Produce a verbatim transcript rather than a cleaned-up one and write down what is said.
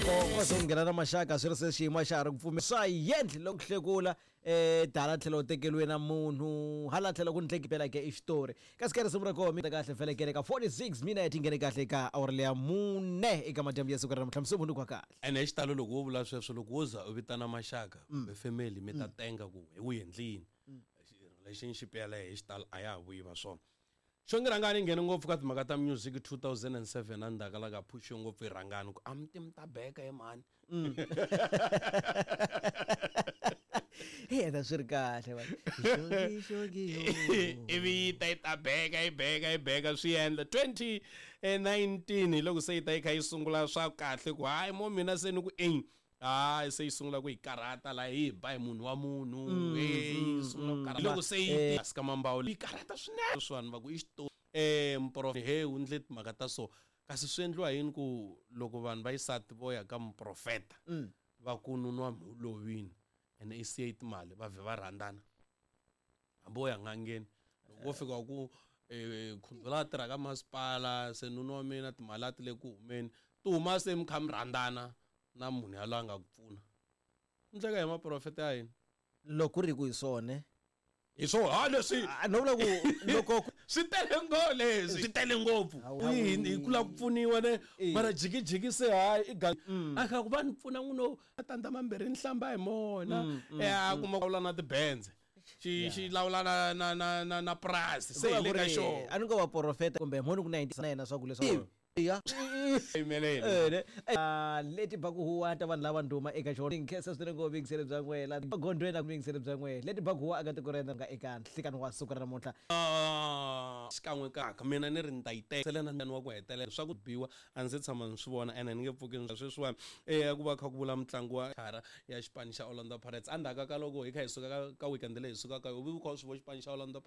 Loko swo nghena na maxaka swi ri se xiyimo xa ha ri ku pfumela swa yendli loko hlekula eh dala tlhelo tekeliwe na munhu hala tlhelo ku ndleki phela ke i xitori kasi ka risimu ra koho mi ta kahle felekele ka forty-six minute yi nghene kahle ka awara leya mune eka madyambu ya siku ra namuntlha msumbhunuko wa kahle. Ene hi xitalo loko wo vula sweswo, loko wo za u vitana maxaka kumbe family mi ta tenga ku hi wu endlini relationship yaleyo, hi xitalo a ya ha vuyi va swona. Xongi Rhangani yi nghene ngopfu ka timhaka ta music two thousand and seven, a ndzhaku la ka phuxiwe ngopfu hi Rhangani ku a mi ti mi ta beka he mhani. Hey, ta swi ri kahle va. Xongi, xongi, yo. Ivi yi ta yi ta beka, yi beka, yi beka, swi endla twenty nineteen hi loko se yi ta yi kha yi sungula swa kahle ku hayi mo mina se ni ku eng hayi se yi sungula ku yi karhata laha yi ba hi munhu wa munhu. Mm, hey, yi mm, sungula ku mm. karhata. Loko se yi Eh. tika mambawu yi karhata swinene swani va ku i xitori. Eh, muprof he u ndle timhaka ta so kasi swi endliwa yini ku loko vanhu va xisati vo ya ka muprofeta Mm. va ku nuna wa mhu lovini ene i siye timali va vhe va rhandzana hambi wo ya n'angeni loko wo fika ku, eh, khundzu la tirha ka masipala se nuna wa mina timali a ti le ku humeni ti huma se mi kha mi rhandzana na munhu yaloye a nga ku pfuna. Ndleka hi maprofeta ya hina. Loko ku ri ku hi swona. Hi swona, ha leswi. Ah, no vula ku loko ku swi tele ngopfu leswi. Swi tele ngopfu. Hawu, Hi, hi ku lava ku pfuniwa ne. Eh. Mara jikijiki se hayi, i ga- Mm. A kha ku va ni pfuna n'wino, a tandza mambirhi ni hlamba hi mona. Mm, mm, Eh, a mm. kuma ku lawula na tibenze. Xi, Yeah. xi lawula na, na, na, na, na purasi. Se hi le ka Ku ri, xona. a ni ngo vaprofeta kumbe mhoni ku na yena swa ku leswaku ya. Yimelele. Eh, ne. Ah, leti ba ku huwa ta vanhu lava ndhuma eka xona. Nkhensa swinene ngopfu vuyingiseri bya n'wina. Gondweni na vuyingiseri bya n'wina. Leti ba ku huwa eka tiko ra hina nga eka nhlikani wa siku ra namuntlha. Ah, xikan'we kaka mina ni ri ni ta yi teka. Sele na ndyangu wa ku hetelela swa ku biwa a ndzi se tshama ni swi vona ene ni nge pfuki ni sweswiwani. Eh, ku va kha ku vula mutlangi wa khara ya xipano xa Orlando Pirates. Endzhaku ka loko hi kha hi suka ka, ka weekend leyi hi sukaka ka yona, u vi u kha u swi vona xipano xa Orlando Pirates.